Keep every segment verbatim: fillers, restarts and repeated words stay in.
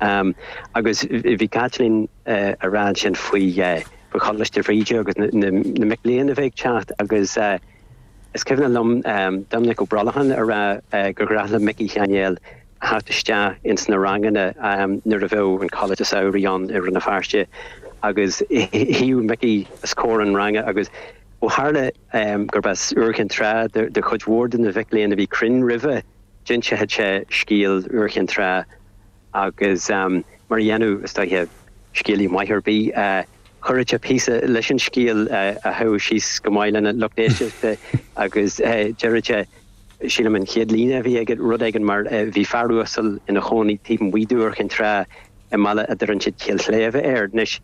Bás. Agus bhí Caitlín ag rá ansin faoi faoi Choláiste Bhríde agus na mic léinn a bheith ag teacht agus is cuimhin liom Doimnic Ó Brollacháin ag rá gur ghnách le Micí Sheáin Néill theacht isteach ins na ranganna nuair a bheadh an Coláiste Samhraidh ann i Rann na Feirste agus shuíodh Micí os comhair an ranga agus ó tharla gurb as Iúr Chinn Trá do chuid mhór de na mhic léinn a bhí cruinn roimhe, d'inseodh sé scéal Iúr Chinn Trá agus mar a dhéanadh is dóiche scéalaí maith ar bith, chuireadh sé píosa leis an scéal a théadh síos go maith lena lucht éisteachta agus deireadh sé, sílim an chéad líne a bhí aige, rud éigin mar bhí fear uasal ina chónaí taobh amuigh d'Iúr Chinn Trá i mbaile a dtuireann siad Cill Shléibhe air. Anois,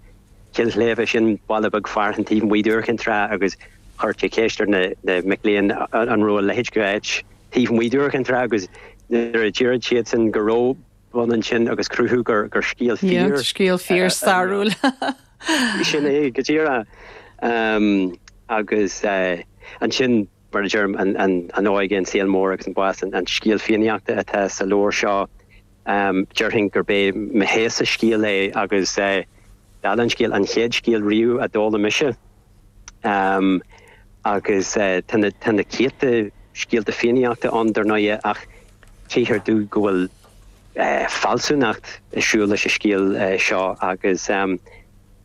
Cill Shléibhe, sin baile beag fearainn taobh amuigh d'Iúr Chinn Trá agus chuir sé ceist ar na mic léinn an raibh a leithéid d'áit taobh amuigh d'Iúr Chinn Trá agus nuair a deir siadsan go raibh, b'ionann sin agus cruthú gur gur scéal fíor. Scéal fíor stairiúil. Sin é go díreach. Agus ansin, mar a deirim, an óige, an saol mór agus an bás, an scéal Fiannaíochta atá sa leabhar seo, déarfainn gurb é mo thaobhsa scéal é agus dála an scéil, an chéad scéal riamh a d'fhoghlaim mise. Agus tá na tá na céadta scéalta Fiannaíochta ann dar ndóigh ach tchíthear domh go bhfuil fealsúnacht ag siúl leis an scéal seo agus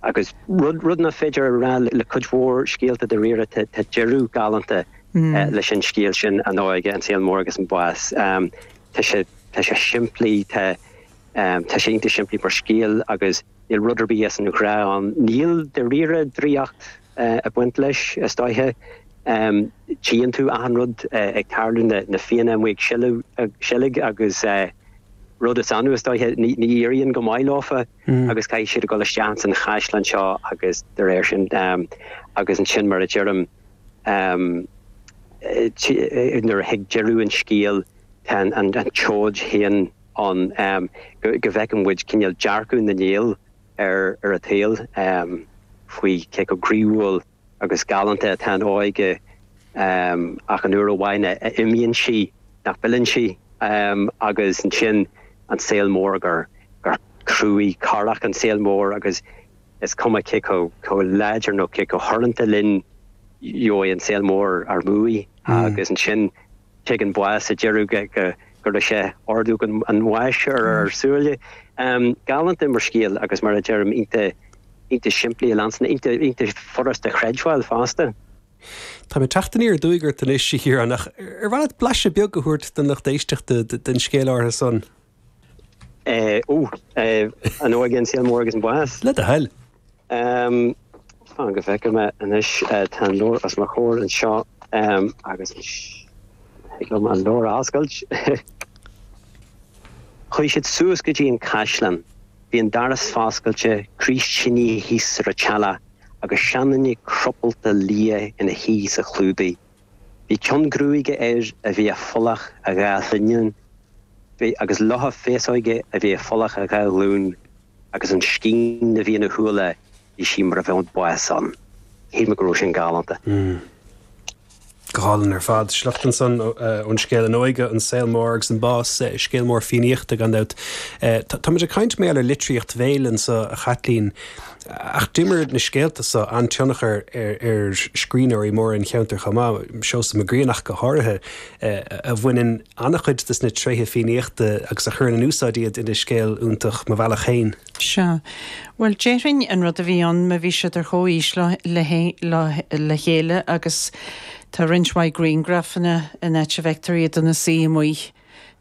agus rud rud nach féidir a rá le cuid mhór scéalta dáiríre, tá deireadh galánta leis an scéal sin, An Óige, an Saol Mór agus an Bás. Tá sé tá sé simplí, tá tá sé iontach simplí mar scéal agus níl rud ar bith as an ghnáth ann. Níl dáiríre draíocht ag baint leis, is dóiche. Tchíonn tú achan rud ag tarlú, na Fianna amuigh ag seilg agus rud is annamh, is dóiche, ní éiríonn go maith leofa agus caithfidh siad a dhul isteach san chaisleán seo agus de réir sin agus ansin mar a deirim nuair a thig deireadh an scéil tá an tseoid féin ann go bhfeiceann muid cineál dearcadh na nGael ar an tsaol faoi cé chomh croíúil agus galánta atá an óige ach an uair amháin a imíonn sí nach bhfilleann sí agus ansin an saol mór gur gur cruaidh corrach an saol mór agus is cuma cé chomh láidir nó cé chomh hurranta linn gheobhaidh an saol mór ár mbuaidh agus ansin Tagann bás sa deireadh go raibh sé ordóg an bháis ar ár súile. Galánta mar scéal agus mar a deirim iontach iontach simplí a leanstan, iontach furast a chreidbheáil fosta. Tá mé ag teacht aniar aduaidh ort anois, a Chiaráin, ach ar mhaith leat blaiseadh beag a thabhairt don lucht éisteachta den scéal áirithe san? Ó, An Óige, an Saol Mór agus an Bás. Le do thoil. Fan go bhfeicfidh mé anois, tá an leabhar os mo chomhair anseo agus thig liom an leabhar a oscailt. Chuaigh siad suas go dtí an caisleán. Bhí an doras foscailte, craos tine thíos ar an teallach agus seanduine crupalta liath ina shuí sa chlúdaigh. Bhí ceann gruaige air a bhí i bhfolach a dhá shlinneán, agus locha féasóige a bhí i bhfolach a dhá ghlúin. Agus an scian a bhí ina shúile, bhí sí mar a bheadh an bás ann. Shíl mé go raibh sin galánta. Go hálainn ar fad. Sliocht ansan ón scéal An Óige, an Saol Mór agus an Bás, scéal mór Fiannaíochta gan dabht. Táimid ag caint mar gheall ar litríocht bhéil anso, a Chaitlín, ach d'imir na scéalta so an-tionchar ar scríbhneoirí móra an cheantair chomh maith, Seosamh Mac Grianna ach go háirithe, a bhaineann an-chuid de na tréithe Fiannaíochta agus a chuireann in úsáid iad ina scéal iontach Mo Bhealach Féin. Sea. Bhuel, déarfainn an rud a bhí ann, má bhí siad ar chomhaois le chéile agus tá roinnt mhaith grianghrafanna in áit a bhfeictear iad ina suí amuigh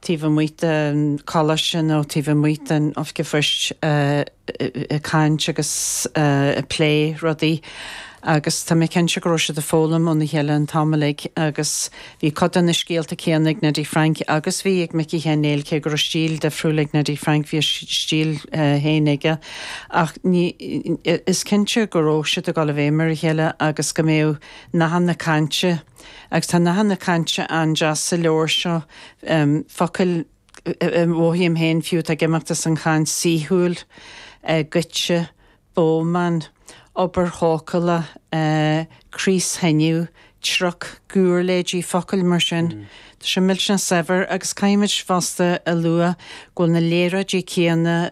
taobh amuigh den choláiste nó taobh amuigh den oifig an phoist ag caint agus ag plé rudaí agus tá mé cinnte go raibh siad ag foghlaim óna chéile an t-am uilig agus bhí cuid de na scéalta céanna ag Neddy Frank agus bhí ag Micí Sheáin Néill cé go raibh stíl difriúil ag Neddy Frank bhí a stíl féin aige ach ní is cinnte go raibh siad ag dul i bhfeidhm ar a chéile agus go mbeadh nathanna cainte Agus tá nathanna cainte an-deas sa leabhar seo, focail a mhothaím féin fiú atá ag imeacht as an chaint, saoithiúil, goitse, bómán, obair thógála, craos thinidh, truc, giúirléidí, focail mar sin. Tá sé millteanach saibhir agus caithfimid fosta a lua go bhfuil na léaráidí céanna